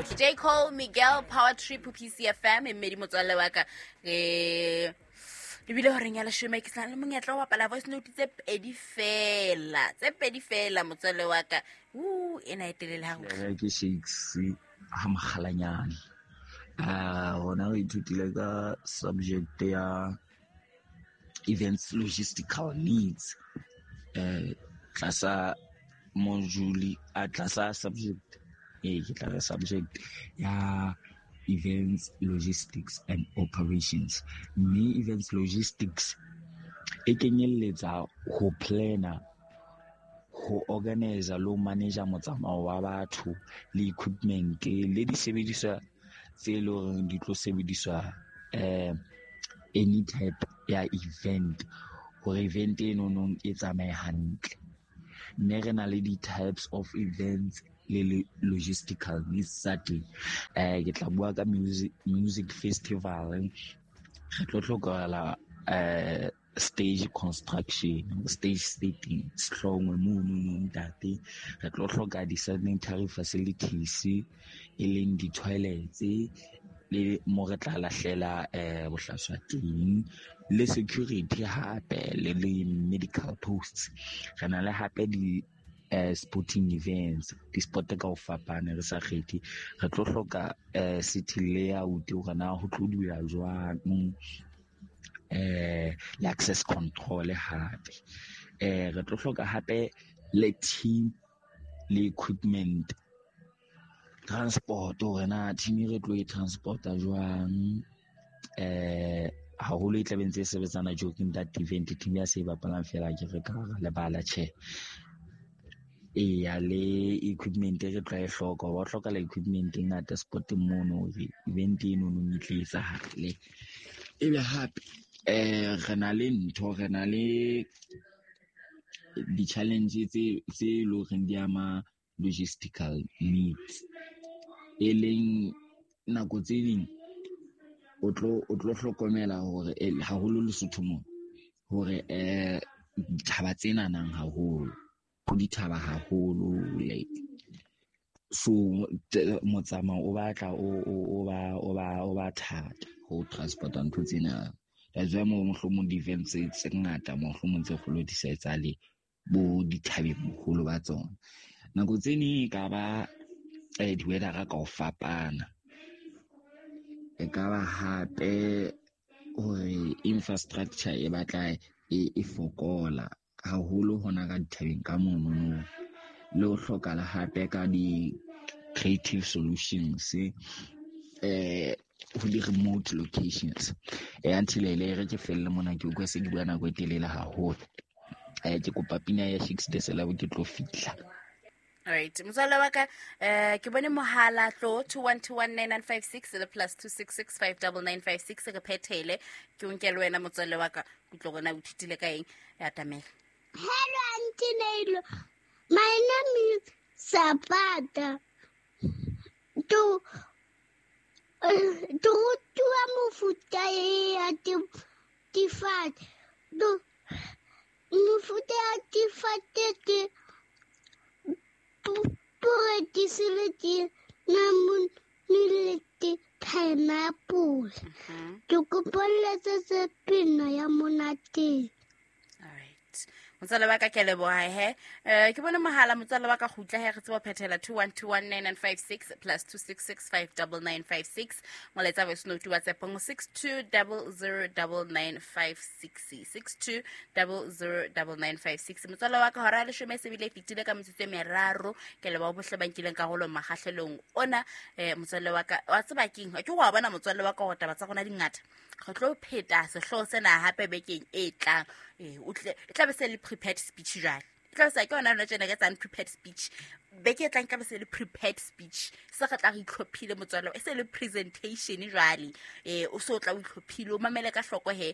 Bohle. J Cole, Miguel, Power Trip, PCFM, e mmedi motswalle wa ka. Re lebile horeng ya leshome, ke sa le monyetla wa bapala voice note tse pedi fela, tse pedi fela motswalle wa ka. U ena e telele ha Re ke Shakes ha Mokgalanyane. Rona re ithutile ka subject ya events logistical needs, tlasa module, a tlasa subject, ke tla re subject ya events logistics and operations. Mme events logistics e kenyelletsa ho planner, ho organizer le ho manager motsamao wa batho le equipment le disebediswa tse leng hore di tlo sebediswa, any type ya event, hore event e nonong e tsamaye hantle. Mme re na le di-types of events le logistical needs tsa teng. Ke tla bua ka music festival. Re tlo hlokahala stage construction, stage setting, sehlongwe mono no ntate. Re tlo hloka di-sanitary facilities, e leng di-toilets, le mo re tla lahlela bohlaswa teng, le security hape, le medical posts. Re na le hape di sporting events, di-sport ka ho fapana, re sa kgethe. Re tlo hloka city layout, hore na ho tlo dula jwang, le access control hape. Re tlo hloka hape le team le equipment, transport, hore na team e re tlo e transporta jwang, haholo e tla be ntse e sebetsana joking that event, team ya se e bapalang fela ke re ka hara lebala, tjhe. Eya, le equipment e re tla e hloka, wa hloka le equipment e ngata sporteng mono hore event eno no e tle etsahale. Ebe hape re na le ntho, re na le di-challenge tse leng hore di ama logistical needs, e leng nako tse ding o tlo hlokomela hore haholo Lesotho mona hore dithaba tsena nang haholo, ho dithaba haholo, like so motsamao o batla o ba thata ho transporta ntho tsena. That's why mo mohlomong di-events tse ngata mohlomong tse kgolo di sa etsahale bo dithabeng boholo ba tsona. Nako tse ding e ka ba di-weather ka ho fapana, e ka ba hape hore infrastructure e batla e fokola haholo hona ka dithabeng ka mono, le ho hlokahala hape ka di-creative solutions, ho di-remote locations. Until e re ke felle mona, ke utlwa se ke bua nako e telele haholo. Ke kopa pina ya Shakes the Celeb, ke tlo fihla. Alright, motswalle wa ka, ke bone mohala tlo 21219956 le plus 266599956, re phethele. Ke o nke le wena motswalle wa ka, ke tlo bona o ithutile ka eng. Ya tamela. Hello Auntie Neilo. My name is Zapata. To rutiwa mofuta e ya difate. To mofuta ya difate ke porekisi le ke namune le ke pineapple. Ke kopa le letsetse pina ya monate. Alright. Motswalle wa ka, ke a leboha he. Ke bone mohala motswalle wa ka, kgutla he, re tsebe ho phethela 21219956 plus 266599956. Molaetsa voice note WhatsApp ngo six two double zero double nine five six, six two double zero double nine five six. Motswalle wa ka, hora ya leshome e se bile e fetile ka metsotso e meraro. Ke leboha bohle ba nkileng karolo makgahlelong ona. Motswalle wa ka, wa tseba keng? Ke wa bona motswalle wa ka hore taba tsa rona di ngata. Re tlo pheta sehlooho sena hape bekeng e tlang. O tle, e tla be se le prepared speech jwale. E tla be se ke yona yona tjena ke etsang prepared speech. Beke e tlang e tla be se le prepared speech. Se re tla re itlhophile motswalle, e se le presentation jwale. O se o tla o itlhophile, o mamele ka hloko he,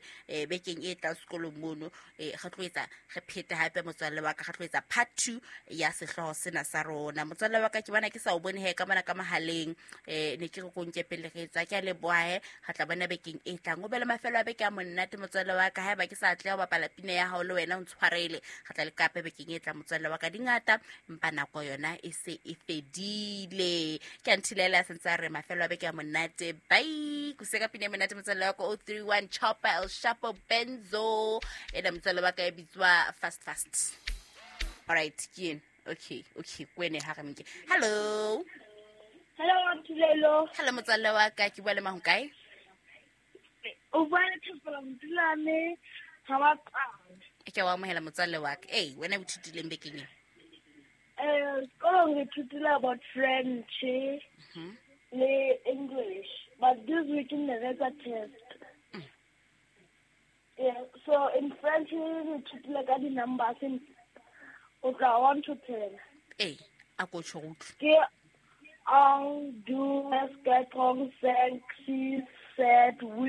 bekeng e tlang sekolong mono. Re tlo etsa, re phete hape motswalle wa ka, re tlo etsa part 2 ya sehlooho sena sa rona. Motswalle wa ka, ke bona ke sa o bone he ka mona ka mohaleng. Ne ke re ko nke pele re tswa, ke a leboha he, re tla bona bekeng e tlang. O be le mafelo a beke a monate motswalle wa ka, haeba ke sa atleha ho bapala pina ya hao le wena o ntshwarele. Re tla le kape bekeng e tlang motswalle wa ka, di ngata, empa nako yona yona e se e fedile. Ke a nthilela sentse a re mafelo a beke a monate. Bye. Kuse ka pina e monate motswalle wa ka 031 Chopper El Shapo Benzo. Ena motswalle wa ka e bitswa Fast Fast. Alright, ke eno. Okay, okay, kwene ha re mke. Hello. Hello, Nthulelo. Hello motswalle wa ka, ke bua le mang kae? O bua le Thapelo Mtulane ga ba qala. Ke wa amohela motswalle wa ka. Ei, wena o ithutileng bekeng ena? Sekolong re ithutile about French le English, but this week ne re etsa test. Yeah, so in French re ithutile ka di-numbers in go tloha 1 to 10. Ee, a ko tjho re utlwe. Ke 1, 2, 4, 5, 6, 7, 8.